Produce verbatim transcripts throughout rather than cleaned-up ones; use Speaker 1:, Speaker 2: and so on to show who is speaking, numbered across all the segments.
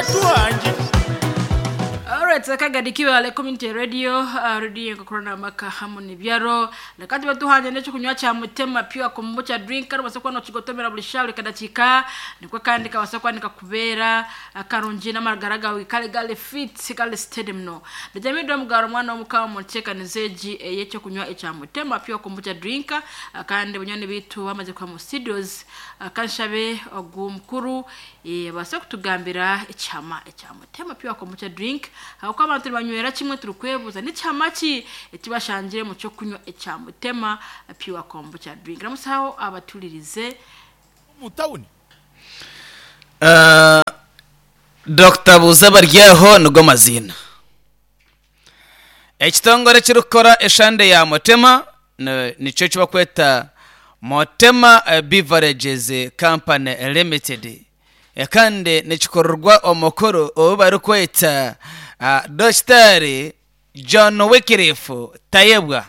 Speaker 1: Batuhangi.
Speaker 2: Alright, kagadi kibale community radio, uh, radio nkakorana maka hamu nibyaro. Nakati batuhanje n'ekyo kunywa kya Mutema Pure Kombucha drink kandi basokwa no kigotomera buli shauri kadakika nikwe kandi kabasokwa nikakubera akarungi n'amagara gawe kale gale fit gale stadium no. Ndajamidwa mugaro mwana w'omukama mucheka nizeji eyekyo kunywa ekya Mutema Pure Kombucha drink uh, kandi bunyoni bitu bamaze kwa mu studios uh, kanshabe ogu mukuru eh, basa kutugambira ekyama ekya Mutema Pure Kombucha drink aho abantu banywera kimwe turi kwebuza n'icyama ki ekibashangire mu cyo kunywa ekya Mutema Pure Kombucha drink. Ramusaho abatulirize
Speaker 1: Mu tawuni.
Speaker 3: Uh, Dr Buza Baryeho nigo mazina ekitongore kirikukora eshande ya Mutema ni- nikyo kibakweta Mutema eh, Beverages Company Limited. Eh, kandi nikikorerwa omukuru ou barikweta uh, Dr John Wycliffe Tayebwa.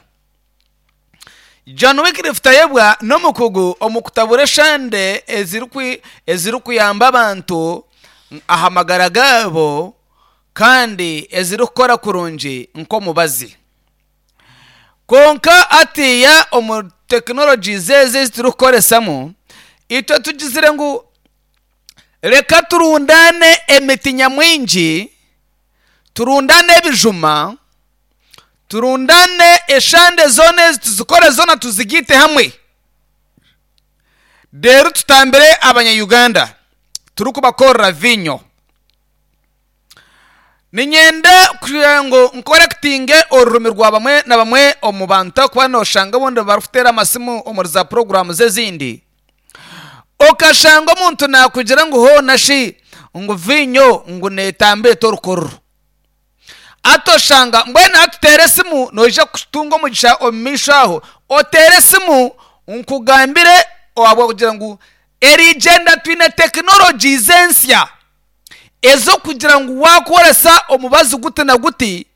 Speaker 3: John Wycliffe Tayebwa n'omukugu omu kutabura eshande ezirikwi- ezirikuyamba abantu aha magara gaabo kandi ezirikukora kurungi nk'omubazi. Konka atiya omu tekinologi ezi ezi turikukoresamu itwe tugizire ngu reka turundane emiti nyamwingi, turundane ebijuma, turundane eshande zoona ezi tuzikore zoona tuzigite hamwe, rero tutambire abanya-Uganda turikubakorera vinyo. Ninyenda kugira ngu nkorekitinge orurimi rwa bamwe na bamwe omu bantu kuba noshanga obundi barikuteera amasimu omuri za poroguramu z'ezindi, okashanga omuntu nakugira ngu hoona shi ngu vinyo ngu neetamba etorukororo, atoshanga mbwenu hatuteere esimu noija kutunga omugisha omu maisho aho oteere esimu nkugambire ohabwa kugira ngu erigyenda twine tekinologi z'ensya ez'okugira ngu wakoresa omubazi guti na guti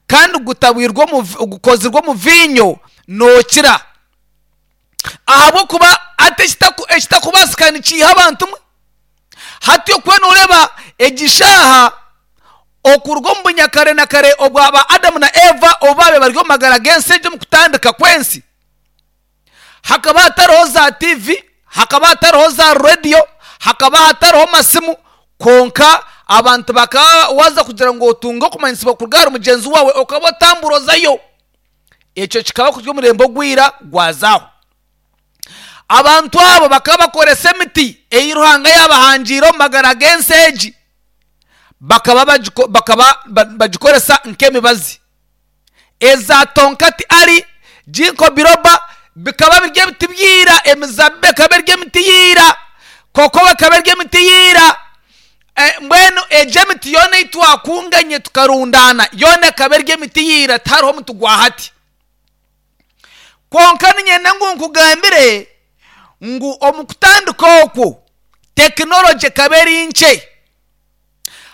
Speaker 3: kandi gutabwirwe omu vi-, gukozirwe omu vinyo nookira, ahabw'okuba ati ekitaku-, ekitakubaasika nikiiha abantu mwe. Hati okuba nooreba egishaaha okuruga omu bunyakare na kare obwaba Adamu na Eva obu baabaire bari omu magara g'ensi egyo omu kutandika kw'ensi, hakaba hatariho za T V, hakaba hatariho za radiyo, hakaba hatariho masimu, konka abantu bakaba waza kugira ngu otunge okumanyisibwa kuruga ahari mugyenzi waawe okaba otamburozayo. Ekyo kikaba kuri omurembe ogwira gwazaho. Abantu abo bakaba bakoresa emiti ei Ruhanga yaabahangiire omu magara g'ensi egi, bakaba bagiko-, bakaba ba-, bagikoresa nk'emibazi. Eza tonkati ari ginkgo biloba bikaba biri ebiti byira, emizabibu ekaba eri emiti yiira, koko ekaba eri emiti yiira. Eh, mbwenu egyo emiti yoona ei twakunganye tukarundana yoona ekaba eri emiti yiira, tihariho omuti gwa hati. Kwonka niinyenda ngu nkugambire ngu omu kutandika okwo tekinologi ekaba eri nkye.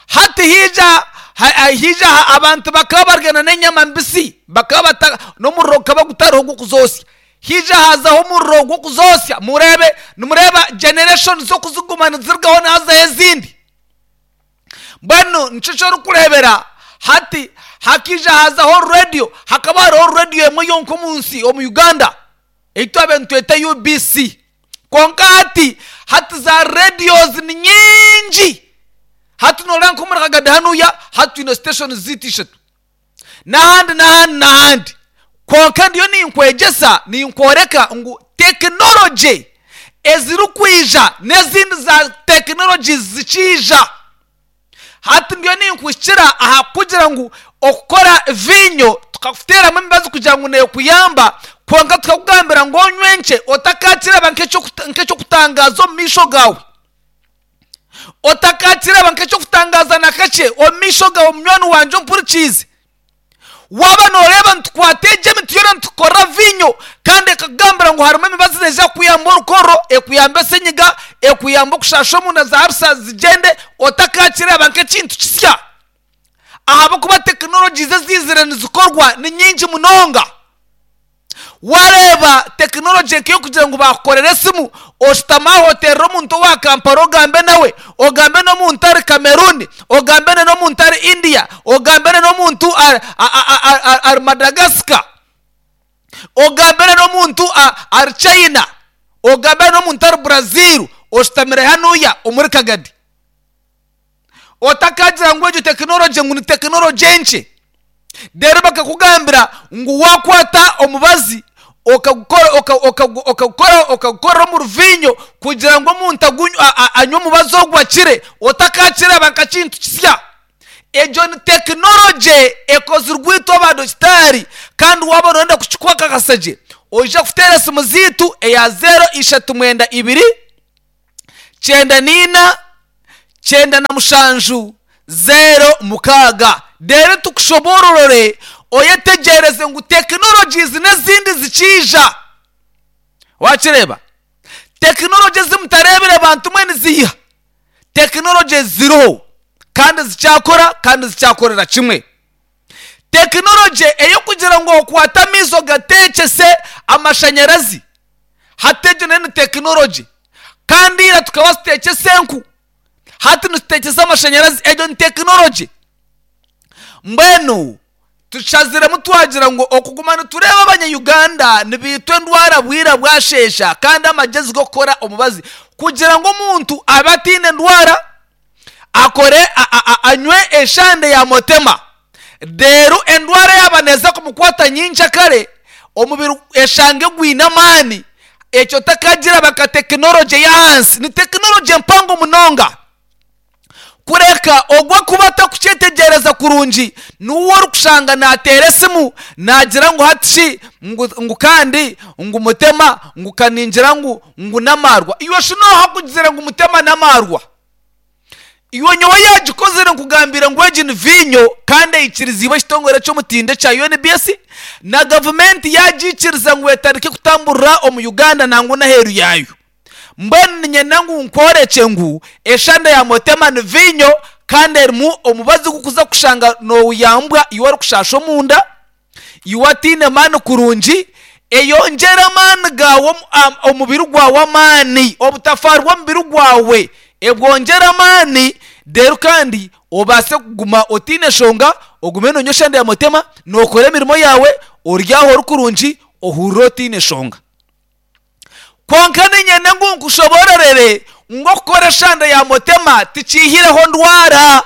Speaker 3: Hati haija, ha-, ha-, haija ha-, abantu bakaba barigana n'enyama mbisi, bakaba bata-, n'omuriro gukaba gutariho gw'okuzoosya. Haija hazaho omuriro gw'okuzoosya, mureebe, nimureeba generation z'okuziguma nizirugaho nihazaho ezindi. Mbwenu nikyo ky'orikureebera hati hakiija hazaho radio, hakaba hariho radio emwe yonka omu nsi omu Uganda ei twabaire nitweta U B C. Kwonka hati, hati za radios ni nyingi. Hati noreeba nk'omuri Kagadi hanuya hati twine station ziitu ishatu n'ahandi n'ahandi n'ahandi. Kwonka ndiyo ninkwegyesa ninkworeka ngu tekinologi ezirikwija n'ezindi za tekinologi zikiija. Hati ndiyo ninkuhikira aha kugira ngu okukora vinyo tukakuteeramu emibazi kugira ngu neekuyamba, kwonka tukakugambira ngu onywe nkye otakakireba nk'ekyokuta-, nk'ekyokutangaza omu maisho gaawe, otakakireba nk'ekyokutangaza na kakye omu maisho gaawe. Munywani wangye ompurikiize, waaba nooreeba nitukwata egyo emiti yoona nitukora vinyo kandi ekakugambira ngu harimu emibazi neija kukuyamba orukoro, ekuyamba esenyiga, ekuyamba okushasha omunda za harusa zigyende, otakakireba nk'ekintu kisya. Ahabw'okuba tekinologi eziizire nizikorwa ni nyingi munonga. Wareba tekinologi nk'eyokugira ngu bakukorera esimu, oshutama aho oterera omuntu owa Kampala ogambe nawe, ogambe n'omuntu ari Cameroon, ogambe n'omuntu ari India, ogambe n'omuntu ari Madagascar, ogambe n'omuntu ari China, ogambe n'omuntu ari Brazil, oshutamire hanuya omuri Kagadi. Otakagira ngu egyo tekinologi ngu ni tekinologi enkye. Rero bakakugambira ngu wakwata omubazi okagukora okagukora okagukora omu ruvinyo kugira ngu omuntu anywe omubazi ogwo akire, otakakireba nka kintu kisya. Egyo ni tekinologi ekozirwe itwe abadokitari, kandi waba noyenda kukikwakakasa gye oija kuteera esimu ziitu eya zero ishatu mwenda ibiri kyenda niina kyenda na mushanju zero mukaaga. Rero tukushobororore oyetegereze ngu tekinologies n'ezindi zikiija. Wakireba tekinologi ezimutarebire bantu mwe niziiha. Tekinologi ziriho kandi zikyakora kandi zikyakorera kimwe. Tekinologi eyokugira ngu okwata amaizo gatekyese amashanyarazi, hati egyo nayo ni tekinologi. Kandi ira tukaba tutekyese enku, hati nitutekyesa amashanyarazi, egyo ni tekinologi. Mbwenu tushaziremu twagira ngu okuguma nitureba abanya-Uganda nibiitwa endwara bwira bwashesha, kandi amagezi g'okukora omubazi kugira ngu omuntu abe atiine endwara akore anywe eshande ya motema, rero endwara yaba neeza kumukwata nyingi kare omubiri eshange gwine amaani. Ekyo takagira baka tekinologi y'ahansi, ni tekinologi empango munonga. Kureka ogwa kuba atakukyetegereza kurungi niwe orikushanga nateera esimu nagira ngu hatishi ngu kandi ngu mutema ngu kaningira ngu ngu namarwa. Iwe shi noha kugira ngu mutema namarwa? Iwe nyowe yagikozire nkugambira ngu egi ni vinyo kandi eikirizibwe ekitongore ky'omutindo kya U N B S na gavumenti yagiikiriza ngu etandike kutamburira omu Uganda nangwa n'aheeru yaayo. Mbwenu niinyenda ngu nkworekye ngu eshanda ya motema ni vinyo kandi erimu omubazi gukuza kushanga noyambwa iwe orikushasha omunda, iwe atiine maani kurungi, eyongyera amaani gaawe omubiri gwawe amaani, obutafaari bw'omubiri gwawe ebwongyera amaani, reero kandi obaase kuguma otiine eshonga, ogume nonywa eshanda ya motema, nookora emirimo yaawe, ori aho ori kurungi, ohurire otiine eshonga. Kwonka niinyenda ngu nkushobororere ngu okukora eshanda ya motema tikiihireho ndwara.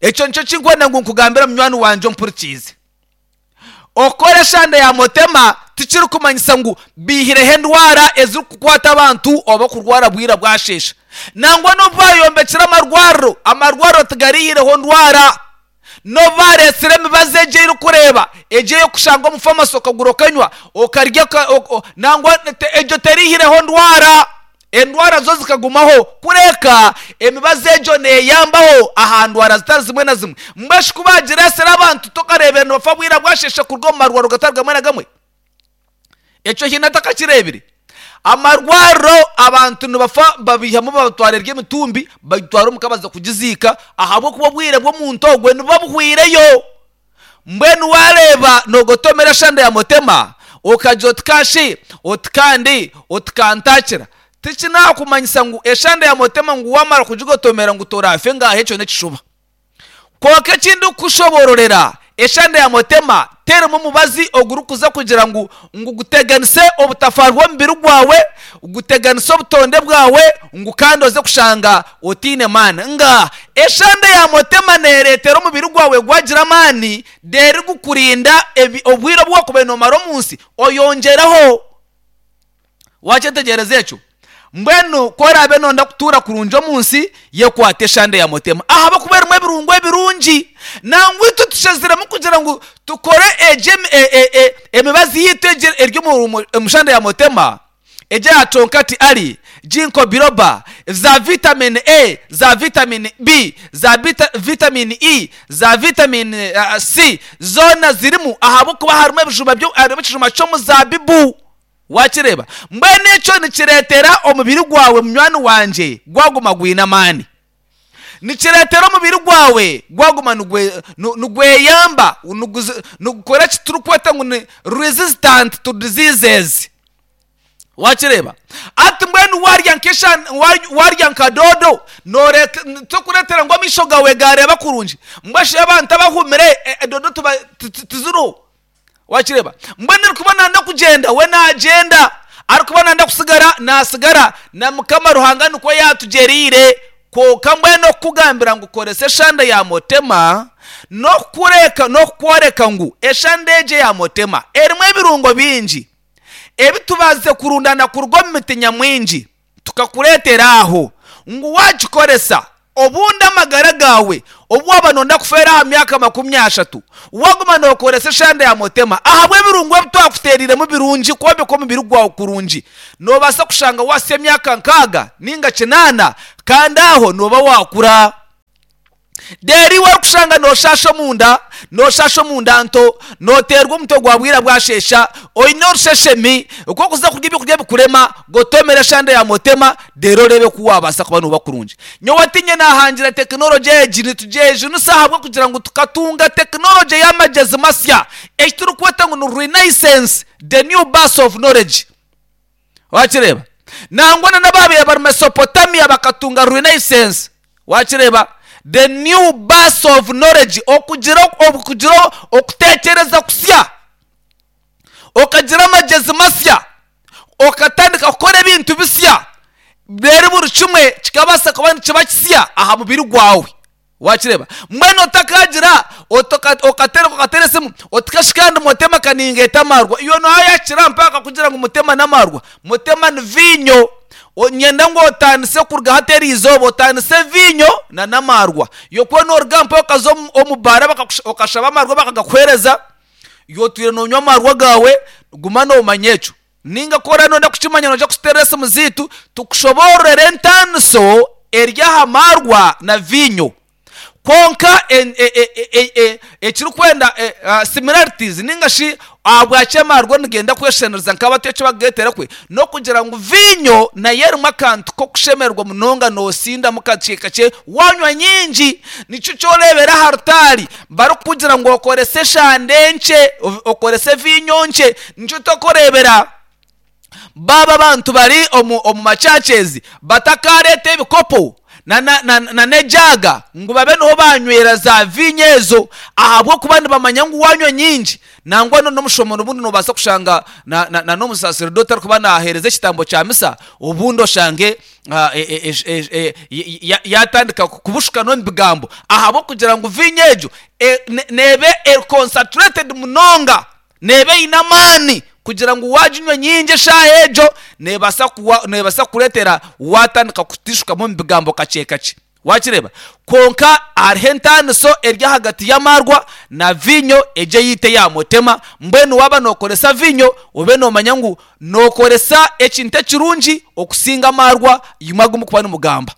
Speaker 3: Ekyo nikyo kinkwenda ngu nkugambire munywani wangye ompurikiize. Okukora eshanda ya motema tikirikumanyisa ngu biihireho endwara ezirikukwata abantu oba kurwara bwira bwashesha. Nangwa n'obu bayombekire amarwariro, amarwariro tigariihireho ndwara. N'obu bareetsire emibazi egyo erikureeba egyo ey'okushanga omu famasi okagura okanywa okarya, nangwa egyo teriihireho ndwara. Endwara zo zikagumaho, kureka emibazi egyo neeyambaho aha ndwara zitari zimwe na zimwe. Mbwenu ku bagireesire abantu tokareebera nibafa bwira bwashesha kuruga omu marwariro gatari gamwe na gamwe. Ekyo hiine atakakireebire. Amarwariro abantu nibafa babihamu babatwara ery'emitumbi bagitwara omuka baza kugiziika ahabw'okuba obwire bw'omuntu ogwe nibabuhwireyo. Mbwenu wareeba noogotomera eshanda ya motema okagira oti kashi oti kandi oti kantakira, tikinakumanyisa ngu eshanda ya motema ngu wamara kugigotomera ngu torafe ngaho, ekyo n'ekishuba. Kwonka ekindi kushobororera eshanda ya motema terimu omubazi ogurikuza kugira ngu ngu guteganise obutafaari bw'omubiri gwawe, guteganise obutonde bwawe, ngu kandi oze kushanga otiine maani. Nga eshanda ya motema neereetera omubiri gwawe gwagira amaani, reero gukurinda obwire obu wakubaire noomara omu nsi oyongyeraho. Wakyetegereza ekyo? Mbwenu ku oraabe noyenda kutuura kurungi omu nsi, yekwata eshanda ya motema ahabw'okuba erimu ebirungo ebirungi. Nangwa itwe tushaziremu kugira ngu tukore egyo emibazi yaitu egyo eri omu shanda ya motema, egyo eya chonkati ari, ginkgo biloba, za vitamin A, za vitamin B, za vitamin E, za vitamin C, zoona zirimu ahabw'okuba harimu ebijuma harimu ekijuma ky'omuzabibu. Wakireba? Mbwenu ekyo nikireetera omubiri gwawe munywani wangye gwaguma gwine amaani. Nikireetera omubiri gwawe gwaguma nigweyamba, nigukora eki turikweta ngu ni resistant to diseases. Wakireeba? Ati mbwenu warya nk'esha- wa- warya nka dodo, noreka- tokureetera ngu amaisho gawe gareeba kurungi. Mbwenu shi abantu abahumire, e- e, dodo tuba- ti- ti- tiziriho. Wakireeba? Mbwenu erikuba nanda kugyenda, we nagyenda, arikuba nanda kusigara, nasigara. Na Mukama Ruhanga nikwo yatugyereire. Kwonka mbwenu okukugambira ngu koresa eshanda ya motema, n'okukureka, n'okukworeka ngu eshanda egyo eya motema erimu ebirungo bingi ebitubaasize kurundana kuruga omu miti nyamwingi, tukakureetera aho ngu wagikoresa obundi amagara gawe, obu waba nonda kufeera aha myaka makumi ashatu, waguma nokoresa eshanda ya motema ahabw'ebirungo ebi twakuteereiremu birungi kwombeka omubiri gwawe kurungi, nobaasa kushanga wasa emyaka nkaaga ninga kinaana, kandi aho noba wakura. Reero iwe orikushanga noshasha omunda, noshasha omunda nto, noteerwa omutwe gwa bwira bwashesha, oine orusheshemi, okwokuza kurya ebyokurya bikurema, gotomera eshanda ya motema, reero oreebe ku wabaasa kuba noba kurungi. Nyowe tinye nahangira tekinologi egi, nitugyejunisa ahabw'okugira ngu tukatunga tekinologi y'amagyezi masya, eki turikweta ngu ni renaissance, the new birth of knowledge. Wakireeba? Nangwa na n'ababaire bari Mesopotamia bakatunga renaissance. Wakireeba? The new birth of knowledge, okugira, okugira okuteekyereza kusya, okagira amagyezi masya, okatandika kukora ebintu bisya, reero buri kimwe kikabaasa kuba nikiba kisya aha mubiri gwawe. Wakireeba? Mbwenu otakagira, otoka-, okatereka, okatera esimu, otikashi kandi motema kaningeeta amarwa. Iwe noyakira mpaka kugira ngu mutema n'amarwa. Mutema ni viinyo. O-, nyenda ngu otandise kuruga hati eri izooba, otandise viinyo na n'amarwa. Yokuba noruga mpaka okaza omu-, omu baara bakakusha-, okashaba amarwa bakagakuheereza, iwe otwire nonywa amarwa gawe, guma nomanya ekyo. Ninga ku oraba nonda kukimanya, noija kututeerera esimu ziitu, tukushoboororere entaaniso eri aha marwa na viinyo. Kwonka en-, e-, e-, e-, e-, e-, ekirikwenda, e, a, similarities ninga shi ahabwaki amarwa nigenda kweshenereza nk'abato eki bakugeetera kwe, n'okugira ngu viinyo nayo erimu akantu k'okushemererwa munonga, noosindamu kakye kakye, wanywa nyingi. Nikyo kyoreebera aha rutaari barikukugira ngu okorese eshande enkye, o-, okorese viinyo nkye. Nikyo tokureebera baaba abantu bari omu, omu machachezi batakareeta ebikopo na, na, na, na n'ejaaga ngu babe niho banywera za viinyo ezo, ahabw'okuba nibamanya ngu wanywa nyingi. Nangwa no n'omushomo obundi nobaasa kushanga na, na, na n'omusaseredoti arikuba naheereza ekitambo kya misa, obundi oshange, ah, e, e, e, e, e, ya-, yatandika kubushuka n'omu bigambo, ahabw'okugira ngu viinyo egyo, e, ne-, neebe e concentrated munonga, neebe eine amaani kugira ngu waginywa nyingi eshaaha egyo, neebaasa kuwa-, neebaasa kukureetera watandika kutishukamu omu bigambo kakye kakye. Wakireeba? Kwonka hariho entaaniso eri ahagati y'amarwa na viinyo egyo eyiita eya motema. Mbwenu waaba nookoresa viinyo, obe noomanya ngu nookoresa ekintu ekirungi okusinga amarwa imwe agu murikuba nimugamba.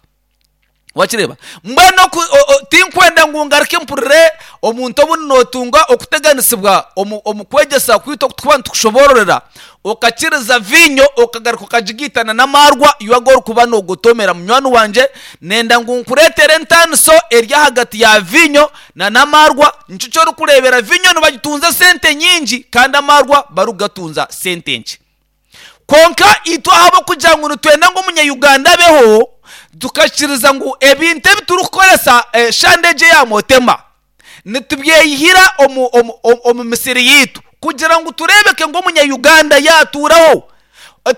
Speaker 3: Wakireeba? Mbwenu oku-, o-, o-, tinkwenda ngu ngaruke mpurire omuntu obundi nootunga okuteganisibwa omu, omu kwegyesa kwaitu oku tukuba nitukushoboororera, okakiriza viinyo okagaruka okagigiitana n'amarwa iwe agu orikuba noogotomera. Munywani wangye, nenda ngu nkureetere entaaniso eri ahagati ya viinyo na n'amarwa. Nikyo ky'orikureebera viinyo nibagitunza sente nyingi kandi amarwa barikugatunza sente nkye. Kwonka itwe ahabw'okugira ngu nitwenda ngu omunya-Uganda abeho, tukakiriza ngu ebintu ebi turikukoresa, eh, shande egyo eya motema nitubyeyihira omu, omu, omu, omu misiri yiitu kugira ngu tureebeke ngu omunya-Uganda yaatuuraho.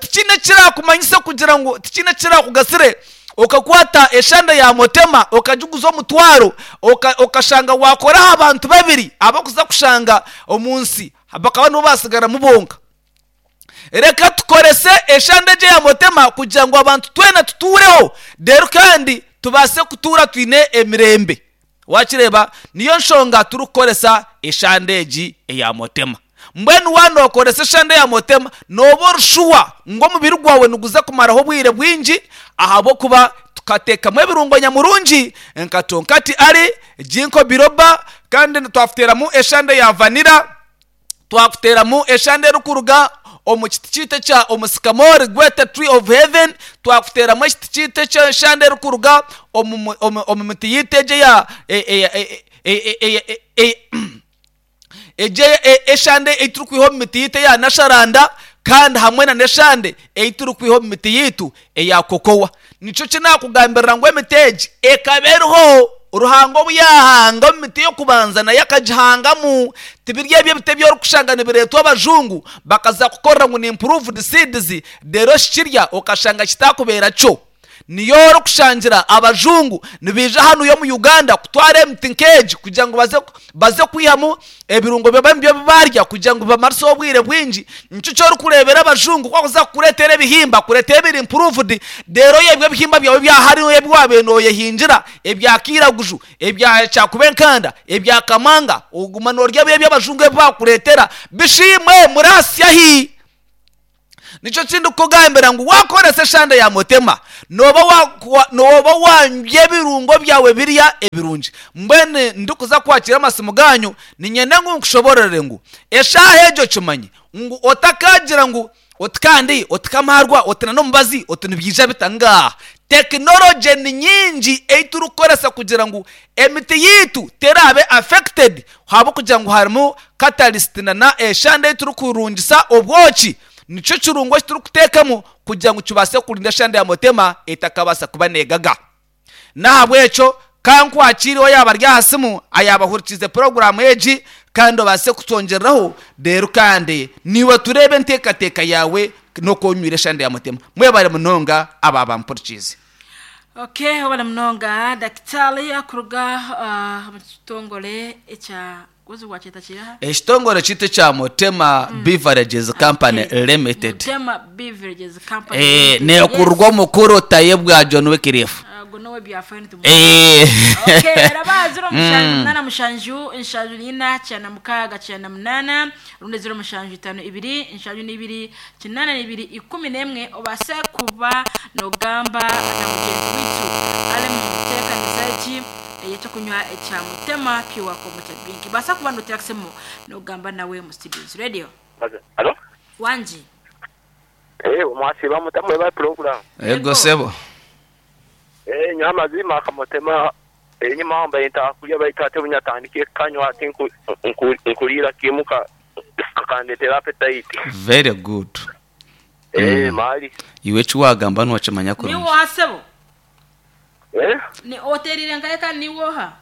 Speaker 3: Tikiine ekirakumanyisa kugira ngu tikiine ekirakugasire okakwata eshanda ya motema okagiguza omutwaro, oka-, okashanga wakoraho abantu babiri abakuza kushanga omu nsi bakaba nibo basigaramu bonka. Reka tukorese eshanda egyo ya motema kugira ngu abantu twena tutuureho, reero kandi tubaase kutuura twine emirembe. Wakireeba? Niyo nshonga turikukoresa eshanda egi eya motema. Mbwenu waanokoresa eshanda ya motema, nooba orushuwa ngu omubiri gwawe niguza kumaraho obwire bwingi, ahabw'okuba tukateekamu ebirungo nyamurungi nka tonkati ari, ginkgo biloba, kandi twakuteeramu eshanda ya vanilla, twakuteeramu eshanda erikuruga omu kiti kiitu ekya omusikamori gwete tree of heaven, twakuteramu ekiti kiitu eky'enshanda erikuruga omu omu omu miti yiitu egyo eya egyo eshande ei turikwiha omu miti yiitu eya nasharanda, kandi hamwe na n'eshande ei turikwiha omu miti yiitu eya kokowa. Nikyo kinakugambirira ngu emiti egi ekaba eriho Ruhanga obu yaahanga omu miti y'okubanza nayo akagihangamu. Tibiri ebyo ebiti ebi orikushanga nibireetwa abajungu bakaza kukorera ngu ni improved seeds, reero kikirya okashanga kitakubeera kyo. Niyo orikushangira abajungu nibaija hanu omu Uganda kutwara emiti nk'egi kugira ngu baze baze kwihamu ebirungo byabo ebi barya kugira ngu bamarise obwire bwingi. Nikyo kyorikureebera abajungu ku bakuza kukureetera ebihimba kureeta ebiri improved, reero ebyo ebihimba byawe ebya hariyo ebi waabaire nooyehingira ebya kiiraguju, ebya kyakuba enkanda, ebya kamanga, oguma noorya ebi abajungu ebi baakureetera bishimwe murasya hi. Nikyo kindikukugambira ngu waakoresa eshande ya Mutema nooba nooba wanywa ebirungo byawe birya ebirungi. Mbwenu ndikuza kwakira amasimu ganyu niinyenda ngu nkushoborere ngu eshaaha egyo kimanye ngu otakagira ngu oti kandi oti kamarwa oti n'omubazi oti nibiija bita ngaha. Tekinologye ni nyingi ei turikukoresa kugira ngu emiti yiitu teraabe affected ahabw'okugira ngu harimu catalyst na eshande ei turikurungisa obwoki. Nikyo kirungo eki turikuteekamu kugira ngu kibaase kurinda eshande ya Mutema etakabaasa kuba neegaga. N'ahabw'ekyo kankwakiireho yaaba ari aha simu ayaabahurikiize puroguraamu egi kandi obaase kutwongyereraho reero kandi niiwe tureebe enteekateeka yaawe n'oku onywire eshande ya Mutema. Mwebare munonga aba bampurikiize.
Speaker 2: Okay, wabale munonga dakitari akuruga uh, mu kitongore ekya gozi wakyeta kiraha
Speaker 3: Ekitongore kiitu ekya Mutema Beverages Company
Speaker 2: Okay.
Speaker 3: Limited.
Speaker 2: Mutema Beverages Company
Speaker 3: Eh,
Speaker 2: Limited.
Speaker 3: neekurwa omukuru Tayebwa John Wycliffe.
Speaker 2: Yes. Ago nowe byafaayo nitumu
Speaker 3: Eh.
Speaker 2: Okay, raba ziro mushanju munana mushanju nshanju nina kyana mukaaga kyana munana rundi ziro mushanju itano ibiri nshanju n'ibiri kinana n'ibiri ikumi n'emwe obase kuba nogamba na mugenzi witu ali mu nteekanisa eki ey'ekyokunywa ekya Mutema Pure Kombucha Drink. Basa kuba noterakisemu nogamba nawe mu studios radio
Speaker 1: Alo?
Speaker 2: wangi.
Speaker 1: Eh, mwasiba mutamu eba program.
Speaker 3: Ego sebo.
Speaker 1: Eh, nywa amazima akamutema enyuma wambaye ntakulya baita bunyatandike kanywa ati nku- nku- nkulira kimuka kakandetera appetite.
Speaker 3: Very good.
Speaker 1: Eh, mali.
Speaker 3: Iwe eki wagamba niwakimanya
Speaker 2: Ni
Speaker 3: kurungi.
Speaker 2: woha sebo?
Speaker 1: Eh?
Speaker 2: Ni oterire nkaeka ni woha?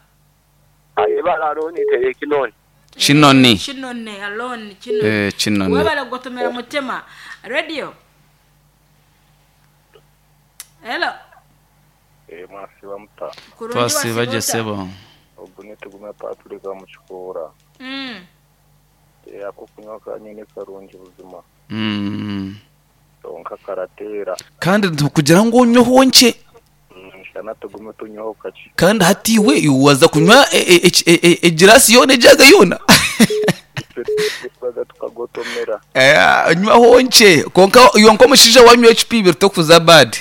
Speaker 1: Aye balaro ni tere kinoni.
Speaker 3: Kinoni.
Speaker 2: Kinone alone kinone.
Speaker 3: Eh, Kinoni.
Speaker 2: Webale kugotomera Mutema radio. Hello.
Speaker 4: Eh, mwasiba muta
Speaker 2: Kurungi
Speaker 3: Twasiba gye
Speaker 2: wasiba
Speaker 3: sebo.
Speaker 4: ogu nitugumya Patrick mukikuura.
Speaker 2: Mm.
Speaker 4: Eh, ako kunywa kanyine karungi buzima
Speaker 3: Mm.
Speaker 4: tonka karateera.
Speaker 3: Kandi kugira ngu onyweho nkye
Speaker 4: Nshana tugume tunyweho kaki.
Speaker 3: kandi hati iwe waza kunywa egirasi yoona ejaga yoona.
Speaker 4: Twaga tukagotomera.
Speaker 3: Eh, nywaho nkye konka yonka omushaija wanywa ecupa ibiri tokuza bad.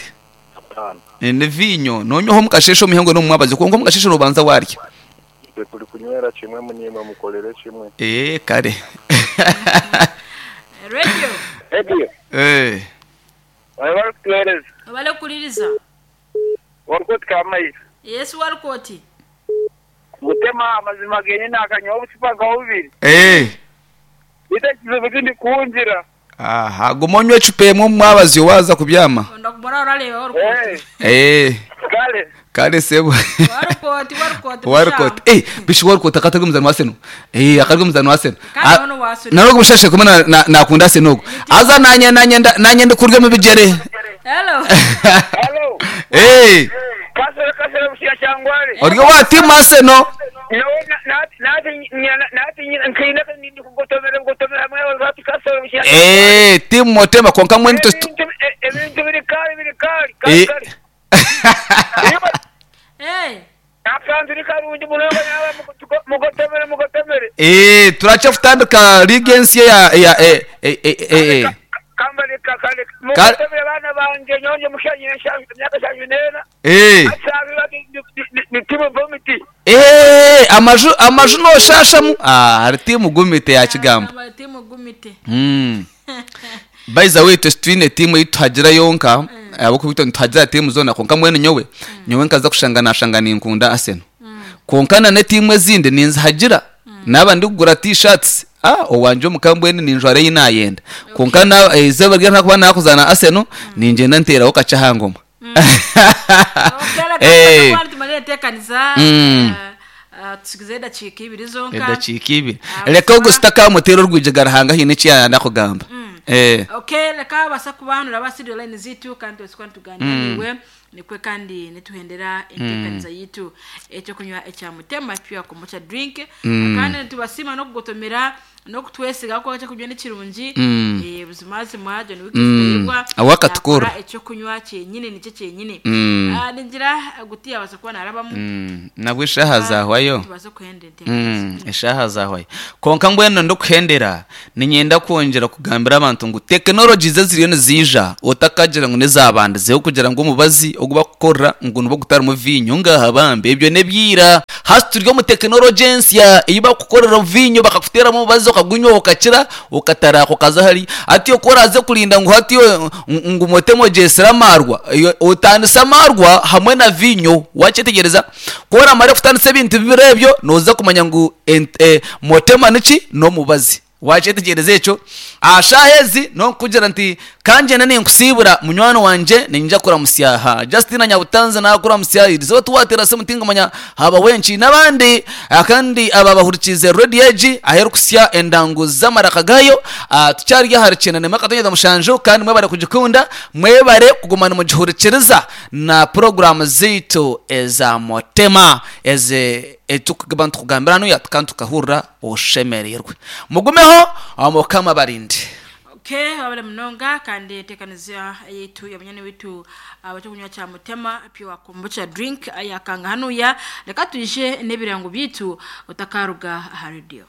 Speaker 4: Tano
Speaker 3: Ni vinyo nonywaho mukasheshe omuhango n'omumwabazi konka omukasheshe nobanza warya.
Speaker 4: twe turi kunywera kimwe munyimwe mukorere kimwe.
Speaker 3: Eh, kare.
Speaker 2: Radio.
Speaker 1: Radio.
Speaker 3: Eh.
Speaker 1: Wabali kutuhereza.
Speaker 2: Webale kuliriza.
Speaker 1: Warukoti kamayi.
Speaker 2: Yesu warukoti.
Speaker 1: Mutema amazima genyine akanywa obucupa nka bubiri.
Speaker 3: Eh.
Speaker 1: Ite kizibu kindi kunjira.
Speaker 3: Aha, guma onywe ecupa emwe omumwabazi waza kubyama.
Speaker 2: Ndakubona orareba warukoti.
Speaker 1: Eh,
Speaker 3: Eh,
Speaker 1: kale.
Speaker 3: kare sebo.
Speaker 2: Warukoti warukoti.
Speaker 3: Warukoti. Eh, bishi warukoti akatari omuzani wa Arsenal. Eh, akatari omuzani wa Arsenal.
Speaker 2: Kandi ono wa Arsenal.
Speaker 3: Narogo bushashe kumwe na- na- nakunda Arsenal ogu. Aza nanye nanye nda- nanye ndikurya mu bigere.
Speaker 2: Hello.
Speaker 1: Hello.
Speaker 3: Eh,
Speaker 1: Kasere kasere bushya cyangware.
Speaker 3: ori wa team Arsenal. Eh, team Mutema konka mwene to
Speaker 1: Ebintu biri kali biri kali
Speaker 3: Eh.
Speaker 1: kali kali.
Speaker 2: Eh.
Speaker 1: Akantu ni karungi munonga nawe mugotomere mugotomere.
Speaker 3: Eh, turacha kutandika league ensi ya ya eh eh eh eh.
Speaker 1: Kambale kakale mugotomere bana banje nyonje mushanyi myaka shanyu nena.
Speaker 3: Eh.
Speaker 1: Asabi bati ni timu vomiti.
Speaker 3: Eh, amaju amaju noshashamu. Ah, hari team gumite ya kigambo.
Speaker 2: Aba timu gumite.
Speaker 3: Mm. By the way, twine tiimu ei tuhagira yonka, ahabw'okuba nituhagira tiimu zoona, konka mbwenu nyowe nyowe nkaza kushanga nashanga ninkunda Arsenal, konka na n'etiimu ezindi ninzihagira. Naaba ndikugura T-shirts, ah, owanje omuka mbwenu ninjwara ei nayenda, konka na izooba rya nkuba nakuzaana Arsenal, ningyenda nteeraho kakye aha ngoma.
Speaker 2: Okay, reka tumalire enteekaniza.
Speaker 3: Mm.
Speaker 2: eh, tusigize edakiika ibiri zonka.
Speaker 3: Edakiika ibiri.
Speaker 2: Ah,
Speaker 3: Reka
Speaker 2: busima.
Speaker 3: ogu sitakamuteera orwigi garahanga hiine eki yayenda kugamba. Eh.
Speaker 2: Okay, reka basa kubanura basiriyo line zitu kandi twese nituganira niwe nikwe kandi nituhendera enteekaniza yitu ekyokunywa ekya Mutema Pure Kombucha Drink, kandi nitubasiima n'okugotomera n'okutwesiga kuko ekyokunywa nikirungi. Eh, buzimazima John Wikisitayirwa
Speaker 3: Awakatukura.
Speaker 2: ekyokunywa kyenyine nikyo kyenyine.
Speaker 3: Mm.
Speaker 2: Ah, ningira gutiya basa kuba narabamu.
Speaker 3: Mm, nabwo eshaha zahwayo.
Speaker 2: Tubaze kuhenda enteekaniza.
Speaker 3: Mm, eshaha zahwayo, konka mbwenu ndikuhendera ninyenda kwongyera kugambira abantu ngu tekinoloji ze ziriyo niziija, otakagira ngu nizabandizeho kugira ngu omubazi ogu bakukorera ngu nibwo gutarimu vinyo ngaha bambi, ebyo nebyira. Hasi turi omu tekinoloji ensya ei bakukorera vinyo, bakakuteeramu omubazi okagunywa okakira okataraka okaza hari ati oku oraze kurinda ngu hati ngu motemo gyesire amarwa. Iyo- otandise amarwa hamwe na vinyo, wakyetegereza ku oramara kutandisa ebintu bibiri ebyo, noza kumanya ngu ent- eh, motema niki n'omubazi, wakyetegereza ekyo. Ashaha ezi nokugira nti kangyenda ninkusibura munywani wanje, ninja kuramusyaha Justina Nyabutanze, nakuramusya irizoba tuwatera simu tingamanya haba wenki n'abandi. Ah, kandi aba bahurikize radio egi aheru kusya endangu z'amaraka gayo. Ah, tukyari ahari kyenda nemwe akatonyeza mushanju, kandi mwebare kugikunda, mwebare kugumana mugihurikiriza na porogaramu ziitu eza Motema eze etukuba ntukugambira hanu kandi tukahurira oshemererwe. Mugumeho, Mukama barinde.
Speaker 2: Okay, wabale munonga kandi enteekaniza yitu ya witu abakyokunywa kya Mutema Pure Kombucha Drink ayakanga hanuya. Reka tuyije n'ebirango byitu otakaruga aha radio.